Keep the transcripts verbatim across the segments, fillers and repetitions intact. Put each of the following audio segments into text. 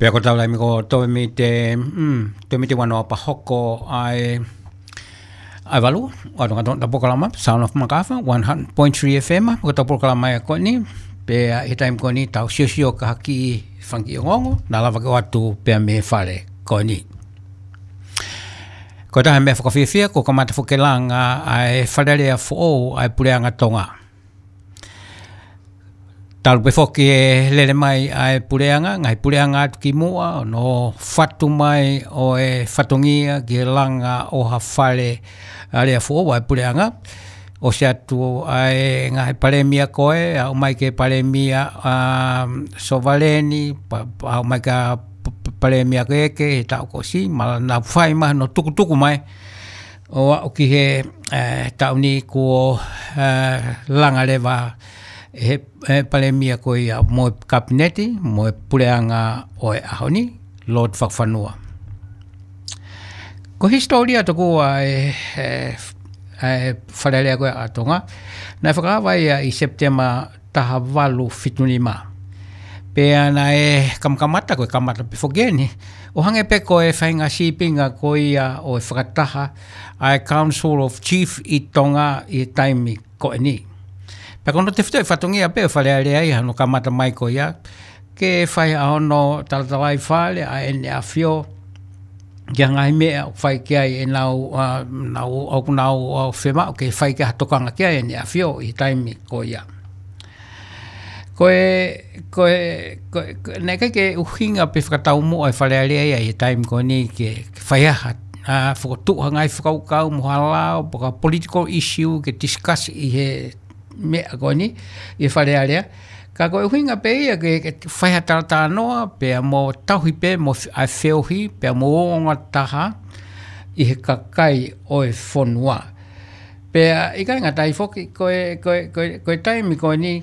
Pea ko tau laimi ko Tōmite, mm, Tōmite Wanoa pea hoko ai, ʻa e valu, ʻa e tau polokalama, Sound of Makafa, one hundred point three F M, ko tau polokalama ia ko eni, pea ʻi he taimi ko eni tau siosio ki he kiʻi fanga kiʻi ongoongo, naʻa lava ke ʻoatu pea mei he fale ko eni. Ko e taha e meʻa fakafiefia, ko e kamata foki e langa ʻa e Fale Alea foʻou ʻa e Puleʻanga Tonga. Talu pē foki e lele mai ʻa e puleʻanga, ngaahi puleʻanga atu ki muʻa, ʻo nau fatu mai ʻo e fatongia ki he langa ʻo ha Fale Alea foʻou ʻa e puleʻanga. ʻOsi atu ʻa e ngaahi palēmia ko ē, aʻu mai ki he palēmia, um, Sovaleni, pa-, pa-, aʻu mai ki he p-, p-, palēmia ko ē ki he taʻu kuo ʻosi, ma-, naʻa nau fai mai hono tukutuku mai, ʻo aʻu ki he, eh, taʻu ni kuo, eh, langa leva he, he palēmia ko ia mo e kapineti, mo e puleʻanga ʻo e ʻaho ni, Lord Fakafanua. Ko e hisitōlia tokua e, e, e Fale Alea ko ē ʻa Tonga, naʻe fakaava ia ʻi Sepitema taha valu fitu nima. Pea naʻe kamakamata, ko e kamata pē foki eni, ʻo hangē pē ko e faʻahinga sīpinga ko ia ʻo e fakataha ʻa e Council of Chief ʻi Tonga ʻi he taimi ko eni. Pea ko hono tefitoʻi fatongia pē ʻo e Fale Alea ʻi hono kamata mai ko ia, ke fai ʻa hono talatalaifale ʻa ʻEne ʻAfio, ki he ngaahi meʻa ʻoku fai ki ai ʻenau, ʻa, nau, ʻoku nau, ʻa, fiemaʻu ke fai ki ai ha tokanga ki ai ʻEne ʻAfio ʻi he taimi ko ia. Ko e, ko e, ko e, ko e, naʻe ʻikai ke ʻuhinga pe fakataumuʻa e Fale Alea ia ʻi he taimi ko eni ke, ke fai ha, ʻa, fokotuʻu ha ngaahi fakakaukau mo ha lao, pe ko ha political issue ke discuss ʻi he meʻa ko eni, ʻi he Fale Alea. Ka ko e ʻuhinga pē ia ke, ke fai ha talatalanoa, pea mo tauhi pē, mo f-, ʻa e feohi, pea mo ongoongo taha ʻi he kakai ʻo e fonua. Pea ʻikai ngata ai foki, ko e, ko e, ko e, ko e taimi ko eni,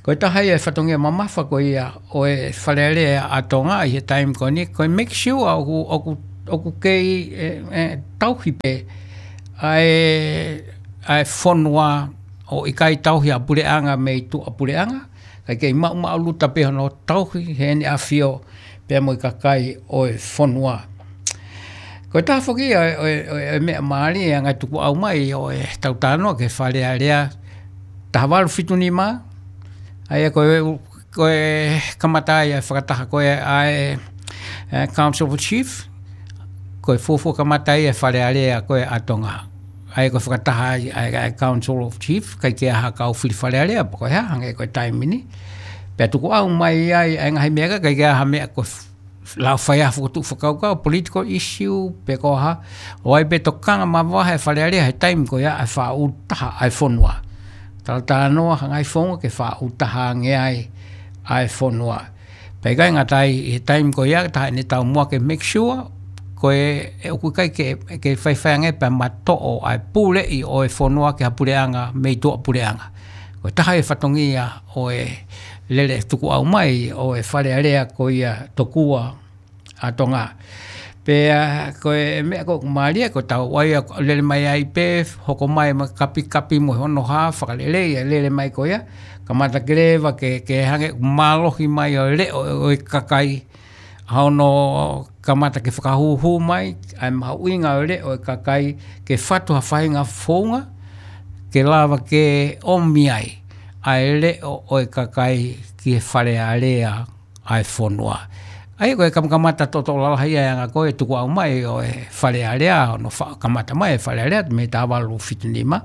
ko e taha ia e fatongia mamafa ko ia ʻo e Fale Alea ʻa Tonga ʻi he taimi ko eni, ko e make sure ʻoku, ʻoku, ʻoku kei, e, e, tauhi pē ʻa e, ʻa e fonua ʻo ʻikai tauhi ʻa puleʻanga mei tuʻa puleʻanga, kae kei maʻumaʻuluta pē hono tauhi heʻene ʻafio pea mo e kakai ʻo e fonua. Ko e taha foki ia ʻo e, ʻo e, ʻo e meʻa mālie ʻa e ngaahi tukuʻau mai ʻo e tau talanoa ki he Fale Alea taha valu fitu nima, ʻa ia ko e, ko e kamata ai ʻa e fakataha ko ē ʻa e, e, Council of Chief, ko e fuofua kamata ai e Fale Alea ko ē ʻa Tonga. ʻA ia ko e fakataha ai ʻa e, ʻa e Council of Chief, ʻikai ke ʻi ai ha kau fili Fale Alea, pe ko e hā, hangē ko e taimi ni. Pea tukuʻau mai ai ʻa e ngaahi meʻa ka, ʻikai ke ʻi ai ha meʻa ko e f-, lau fai ha fokotuʻu fakakaukau, political issue, pe ko e hā, ʻo ʻai pē tokanga mavahe e Fale Alea he taimi ko ia ʻa e faʻu taha ʻa e fonua. Talatalanoa ha ngaahi founga ke faʻu taha ange ai ʻa e fonua. Pea ʻikai ngata ai ʻi he taimi ko ia, taha ʻene taumuʻa ke make sure, ko e, e ʻoku ʻikai ke, ke faifai ange pea matoʻo ʻa e puleʻi ʻo e fonua ki ha puleʻanga mei tuʻa puleʻanga. Ko e taha e fatongia ʻo e lele tukuʻau mai ʻo e Fale Alea ko ia tokua ʻa Tonga. Pea ko e meʻa ko ē ʻoku mālie, ko e tau ʻai ʻa lele mai ai pē, hoko mai mo e kapikapi mo hono hā, fakalelei ʻa e lele mai ko ia, kamata ke leva ke, ke hangē ʻoku mālohi mai ʻa e leʻo ʻo e kakai, ʻa hono kamata ke fakahūhū mai ʻa e mahuʻinga ʻo e leʻo ʻo e kakai, ke fatu ha faʻahinga founga ke lava ke ʻomi ai ʻa e leʻo ʻo e kakai ki he Fale Alea ʻa e fonua. ʻA ia ko e kamakamata toto lalahi ʻa e anga ko ē tukuʻau mai ʻo e Fale Alea, hono fa-, kamata mai e Fale Alea mei taha valu fitu nima.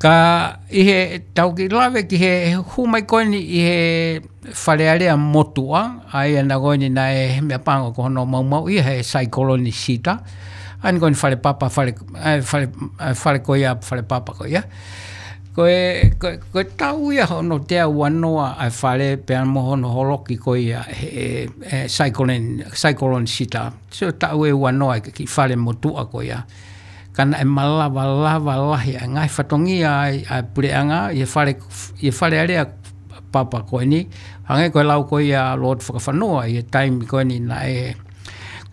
Ka ʻi he tau kiʻi lave ki he hū mai ko eni ʻi he Fale Alea motuʻa, ʻa ia naʻe ko eni naʻe meʻapango ko hono maumauʻi he saikoloni Sita. ʻA eni ko eni fale papa, fale, ʻa e fale, ʻa e fale ko ia, fale papa ko ia. Ko e, ko e, ko e taʻu ia hono teau ua noa ʻa e fale pea mo hono holoki ko ia he, he, he saikoloni, saikoloni Sita. So taʻu ʻe ua noa e kiʻi fale motuʻa ko ia. Ka naʻe malava lava lahi ʻa e ngaahi fatongia ai ʻa e puleʻanga, ʻi he fale, ʻi he Fale Alea papa ko eni. Hangē ko e lau ko ia ʻa Lord Fakafanua ʻi he taimi ko eni naʻe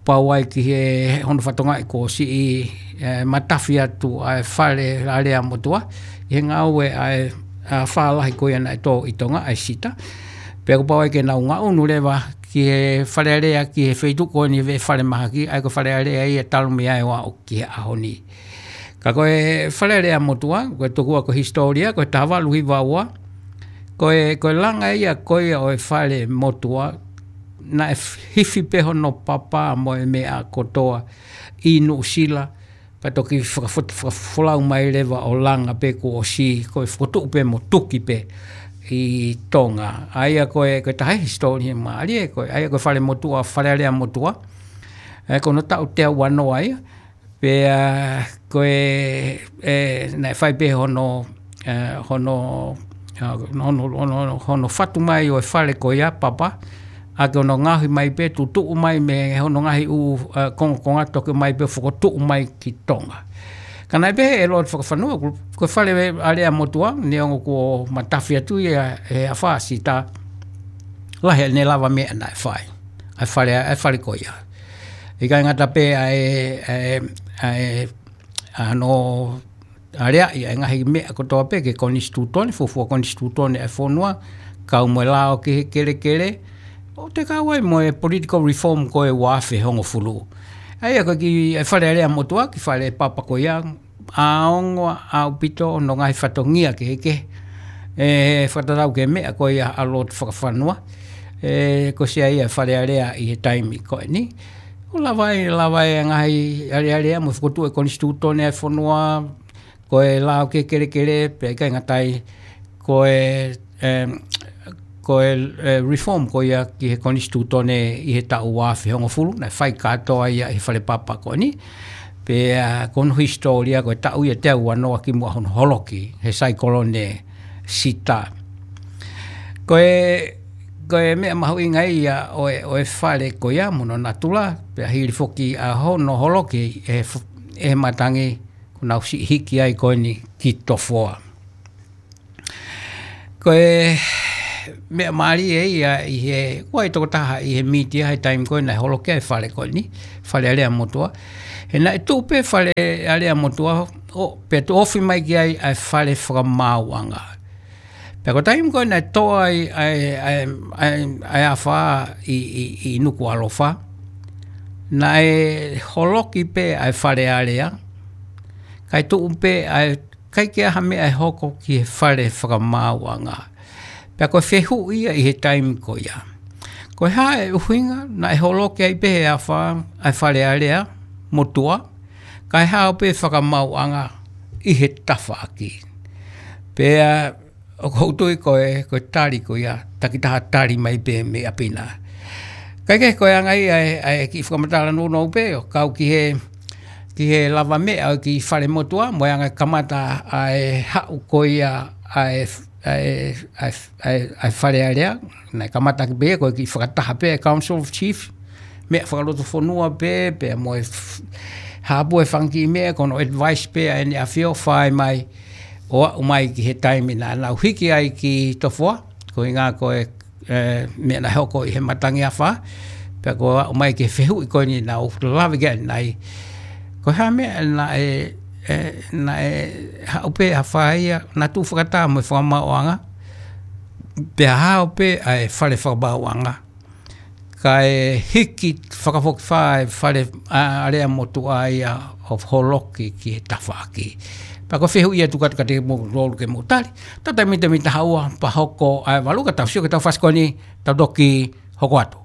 pau ai ki he hono fatongia kuo ʻosi, e, matafi atu ʻa e Fale Alea motuʻa, ʻi he ngāue ʻa e, ʻa e fālahi ko ia naʻe tō ʻi Tonga ʻa e Sita. Pea kuo pau ai ke nau ngaʻunu leva ki he Fale Alea, ki he feituʻu ko eni ʻoku ui ko e Fale Mahaki, ʻa ia ko e Fale Alea ia talu mei ai ʻo aʻu ki he ʻaho ni. Ka ko e Fale Alea Motuʻa, ko e tokua ko e hisitōlia, ko e taha valu hiva ua, ko e, ko e langa ia ko ia ʻo e Fale Motuʻa, naʻe hifi pē hono papa mo e meʻa kotoa ʻi Nuʻusila, pea toki fakafot-, fakafolau mai leva ʻo langa pē kuo ʻosi, ko e fokotuʻu pē mo tuki pē ʻi Tonga. ʻA ia ko e, ko e taha hisitōlia mālie, ko e, ʻa ia ko e Fale Motuʻa, Fale Alea Motuʻa. ʻE, ko hono taʻu teau ua noa ia, pea ko e, ʻe, naʻe fai pē hono, ʻe, hono, ʻa, hono, hono, hono, hono fatu mai ʻo e fale ko ia papa, ʻaki hono ngaohi mai pē, tutuʻu mai mei hono ngaahi ʻū, ʻe, kongokonga toki mai pē fokotuʻu mai ki Tonga. Ka naʻe pehē ʻe Lord Fakafanua, ko, ko e Fale Alea Motuʻa, neongo kuo matafi atu ia ʻe he afā Sita, lahi ʻene lavameʻa naʻe fai ʻa e fale, ʻa e fale ko ia. ʻIkai ngata pē ʻa e, ʻa e, ʻa e, ʻa hono aleaʻi ʻa e ngaahi meʻa kotoa pē ki he konisitūtone, fuofua konisitūtone ʻa e fonua, kau mo e lao ki he kelekele, ʻo toe kau ai mo e political reform ko e ua afe hongofulu. ʻA ia ko e kiʻi, ʻa e Fale Alea Motuʻa, kiʻi fale papa ko ia, ʻaonga ʻaupito hono ngaahi fatongia kehekehe. ʻE, fakatatau ki he meʻa ko ia ʻa Lord Fakafanua. ʻE, ko e ʻuhinga ia ʻa e Fale Alea ʻi he taimi ko eni. ʻO lava ai, lava ai ʻa e ngaahi alealea mo e fokotuʻu ʻa e konisitūtone ʻa e fonua, ko e lao ki he kelekele, pea ʻikai ngata ai, ko e, em, ko e, ʻe, reform ko ia ki he konisitūtone ʻi he taʻu ua afe hongofulu, naʻe fai kātoa ia ʻi he fale papa ko eni. Pea ko hono hisitōlia ko e taʻu ia teau ua noa kimuʻa hono holoki ʻe he saikolone Sita. Ko e, ko e meʻa mahuʻinga ia ʻo e, ʻo e fale ko ia mo hono natula, pea hili foki ʻa hono holoki ʻe he f-, ʻe he matangi, kuo nau siʻi hiki ai ko eni ki Tofoa. Ko e meʻa mālie ia ʻi he, ʻoku ʻi ai e tokotaha ʻi he mītia he taimi ko ē naʻe holoki ai e fale ko eni, Fale Alea Motuʻa. He naʻe tuʻu pē Fale Alea Motuʻa, ʻo, pea tuʻu ofi mai ki ai ʻa e Fale Fakamaauʻanga. Pea ko e taimi ko ē naʻe tō ai ʻa e, ʻa e, ʻa e, ʻa e afā ʻi, ʻi, ʻi Nukuʻalofa, naʻe holoki pē ʻa e Fale Alea, kae tuʻu pē ʻa e, ʻikai ke ʻi ai ha meʻa ʻe hoko ki he Fale Fakamaauʻanga. Pea ko e fehuʻi ia ʻi he taimi ko ia, ko e hā e ʻuhinga naʻe holoki ai pē he afā ʻa e Fale Alea Motuʻa, kae hao pē Fakamaauʻanga ʻi he tafaʻaki? Pea ʻoku ou tui ko e, ko e tali ko ia, takitaha tali mai pē mei ʻapi na. Kae kehe, ko e anga ia ʻa e, ʻa e kiʻi fakamatala nounou pē ʻo kau ki he, ki he lavameʻa ʻo e kiʻi Fale Motuʻa, mo e anga e kamata ʻa e haʻu ko ia ʻa e, ʻa e, ʻa e, ʻa e, ʻa e Fale Alea, naʻe kamata ki pē ko e kiʻi fakataha pē ʻa e Council of Chiefs, meʻa fakalotofonua pē, pea mo e f-, hāpū e fanga kiʻi meʻa, ko hono advice pē ʻa ʻEne ʻAfio, fai mai, ʻo aʻu mai ki he taimi naʻa nau hiki ai ki Tofoa, ko e ʻuhinga ko e, ʻe, meʻa naʻe hoko ʻi he matangi afā, pea ko e aʻu mai ki he fehuʻi ko eni naʻa ku lave ki ai ʻanenai. Ko e hā e meʻa naʻe, ʻe, naʻe haʻu pē afā ia, naʻa tuʻu fakataha mo e Fakamaauʻanga, pea hao pē ʻa e Fale Fakamaauʻanga, kae hiki fakafokifā e Fale, ʻa, Alea Motuʻa ia ʻo holoki ki he tafaʻaki. Pea ko e fehuʻi ia ʻoku ou kole atu kiate kimoutolu ke mou tali. Tau tā mita mita haua pea hoko ʻa e valu, ka tau sio ki he taufasi ko eni, tau toki hoko atu.